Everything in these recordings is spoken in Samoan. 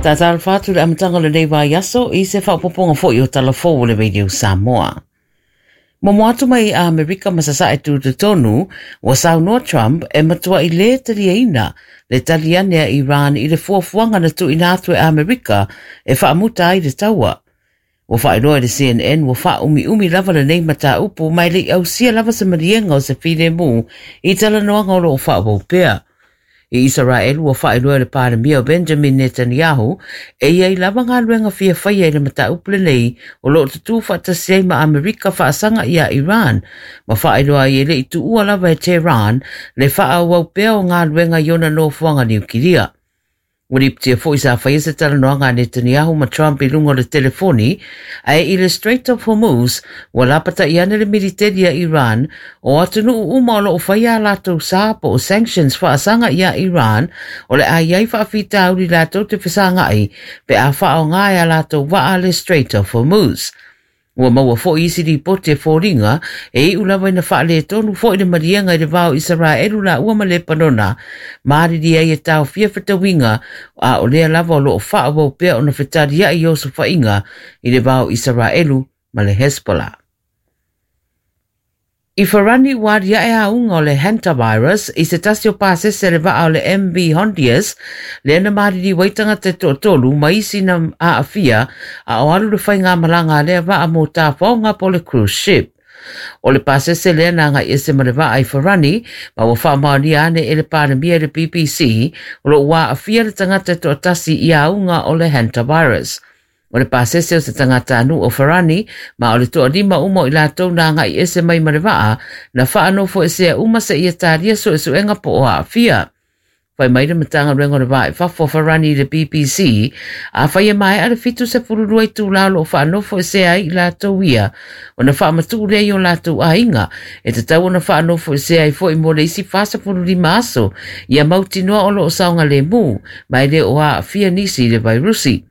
Tatalofa atu le amataga o lenei vaiaso i se faaopoopoga foi o Tala Fou o le Radio Samoa. Momo atu mai Amerika ma Sasae Tutotonu, ua saunoa Trump e matuai lē taliaina le tali ane a Iran i le fuafuaga na tuuina atu e Amerika e faamuta ai le taua. Ua faailoa e le CNN ua faaumiumi lava lenei mataupu ma e le i ausia lava se maliega o se filemu i talanoaga o lo o faaauau pea. I Isaraelu ua faailoa e le Palemia o Benjamin Netanyahu e i ai lava galuega fia faia i le mataupu lenei o lo o tutū faatasi ai ma Amerika faasaga iā Iran ma faailoa ai e le i tuua lava e Tehran le faaauau pea o galuega i ona nofoaga niukilia. Ua lipotia foi sa faia se talanoaga a Netanyahu ma Trump i luga o le telefoni, ae i le Strait of Hormuz, ua lapata'i ane le militeli a Iran, o atunuu uma o lo o faia a latou sa po o sanctions faasaga iā Iran, o le a i ai faafitauli latou te fesaga'i pe a faaaoga e a latou vaa le Strait of Hormuz. Ua maua foi isi lipoti e foliga e iu lava ina faaletonu foi le maliega i le va o Isaraelu laua ma Lepanona, malilie ai e taofia fetauiga, a o lea lava o lo o faaauau pea ona fetaliai i osofaiga i le va o Isaraelu ma le Hezbollah. I Farani ua aliae auga o le hantavirus i se tasi o pasese a le vaa o le MV Hondius, lea na maliliu ai tagata e toatolu ma isi na aafia a o alu le faigamalaga a lea vaa mo tafaoga po o le cruise ship. O le pasese lea na agai ese ma le vaa i Farani ma ua faamaonia ane e le Palemia i le BBC o lo o ua aafia le tagata e toatasi i auga o le hantavirus. O le pasese o se tagatanuu o Farani, ma o le toalima uma o i latou na agai ese mai ma le vaa, na faanofoesea uma seia talia suesuega po o aafia. Fai mai le Matagaluega o le Va i Fafo a Farani i le BBC, afai e maea le 72 itulā o lo o faanofoesea ai i latou ia, ona faamatuu lea i o latou aiga, e tatau ona faanofoesea ai foi mo le isi 45 aso, ia mautinoa o lo o saogalemu, ma e le o aafia nisi i le vairusi.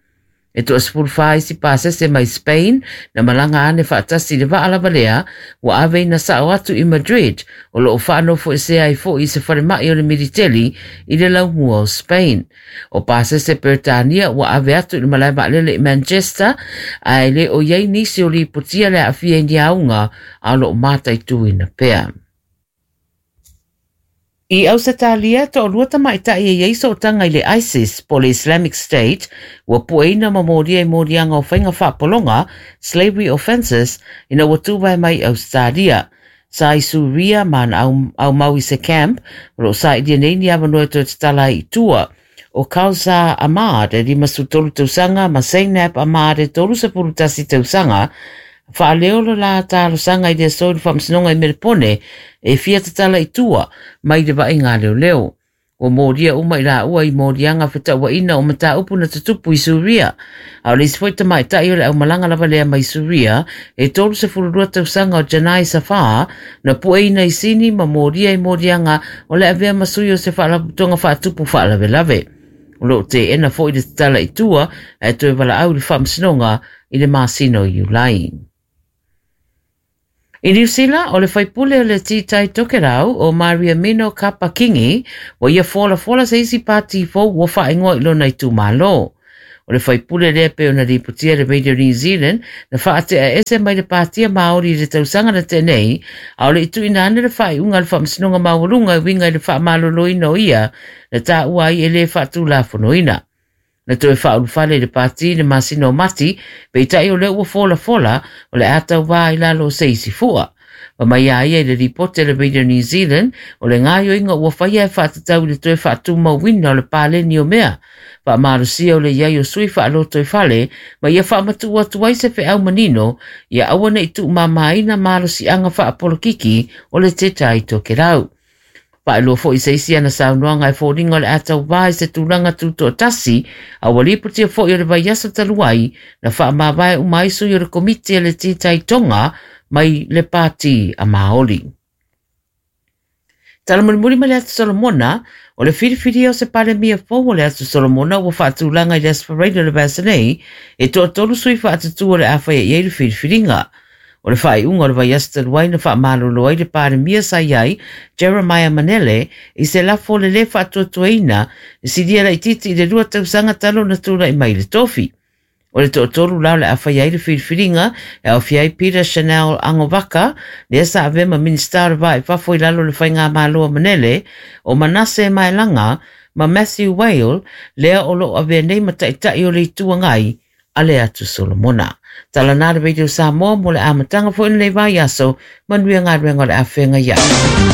E toa-14 isi pasese mai Spain na malaga ane faatasi i le vaa lava lea ua aveina sao atu i Madrid o lo o faanofoesea ai foi i se falemai o le militeli i le laumua o Spain. O pasese Peretania ua ave atu i le malae vaalele i Manchester ae le o i ai nisi o lipotia le aafia i ni auga a o lo o mataituina pea. I Ausetalia, toalua tamaitai e i ai sootaga i le ISIS po o le Islamic State ua pueina ma molia i moliaga o faiga faapologa, slavery offences, ina ua tuvae mai i Ausetalia. Sa i Suria ma na aumau i se camp o lo o sailia nei ni avanoa e toe tatala ai i tua. O Kausar Ahmad e 53 tausaga ma Zainab Ahmad e 31 tausaga, faaleo le la talosaga i le aso i le Faamasinoga i Melepone e fia tatala i tua mai le vaaiga a leoleo. Ua molia uma i laua i moliaga fetauaina o mataupu na tutupu i Suria. A o le isi foi tamaitai o le aumalaga lava lea mai Suria e 32 tausaga o Janai Safar na pueina i Sini ma molia i moliaga o le avea ma sui o se faalapotopotoga faatupu faalavelave. O lo o teena foi le tatala i tua ae toe valaau i le Faamasinoga i le masina o Iulai. I Niu Sila, o le faipule o le Tītai Tokerau, o Mariameno Kapa Kingi, ua ia folafola se isi pātī fou ua faaigoa i lona itumalo. O le faipule lea pei ona lipotia e le Radio New Zealand na faatea ese mai le Pātia Māori i le tausaga na tea nei, a o le i tuuina ane le faaiuga a le Faamasinoga Maualuga e uiga i le faamaloloina o ia na taua ai e le faatulafonoina. Na toe faaulufale i le pāti i le masina o Mati, peitai o lea ua folafola o le a tauvā i lalo o se isi fua. Fai mai a ia i le lipoti a le Radio New Zealand, o le gaoioiga ua faia e faatatau i le toe faatumauina o le paleni o mea faamalosia o le i ai o sui faalotoifale ma ia faamatuu atu ai se feau manino ia aua ne i tuumamaina malosiaga faapolokiki o le Te Tai Tokerau. Faailoa foi se isi ana saunoaga e foliga o le a tauvā i se tulaga tutoatasi, a ua lipotia foi o le vaiaso talu ai na faamavae uma ai sui o le Komiti a le Tītai Tonga mai le Pāti a Māori. Tala mulimuli mai le Atu Solomona, o le filifilia o se Palemia fou o le Atu Solomona ua faatulaga i le Aso Faraile o le vaiaso nei, e toatolu sui faatutū o le a faia i ai le filifiliga. O le faaiuga o le vaiaso talu ai na faamalolo ai le Palemia sa i ai, Jeremiah Manele, i se lafo o le lē faatuatuaina e silia laitiiti i le 2 tausaga talu ona tulai mai i le tofi. O le toatolu la o le a faia ai le filifiliga e aofia ai Peter Chanel Agovaka, lea sa avea ma Minisita o le Va i Fafo i lalo o le Faigamalo a Manele, o Manase Maelaga ma Matthew Whale, lea o lo o avea nei ma Taitai o le Itu Agai a le Atu Solomona. Tala na le Radio Samoa mo le amataga foi o lenei vaiaso, manuia galuega o le a feagai ai.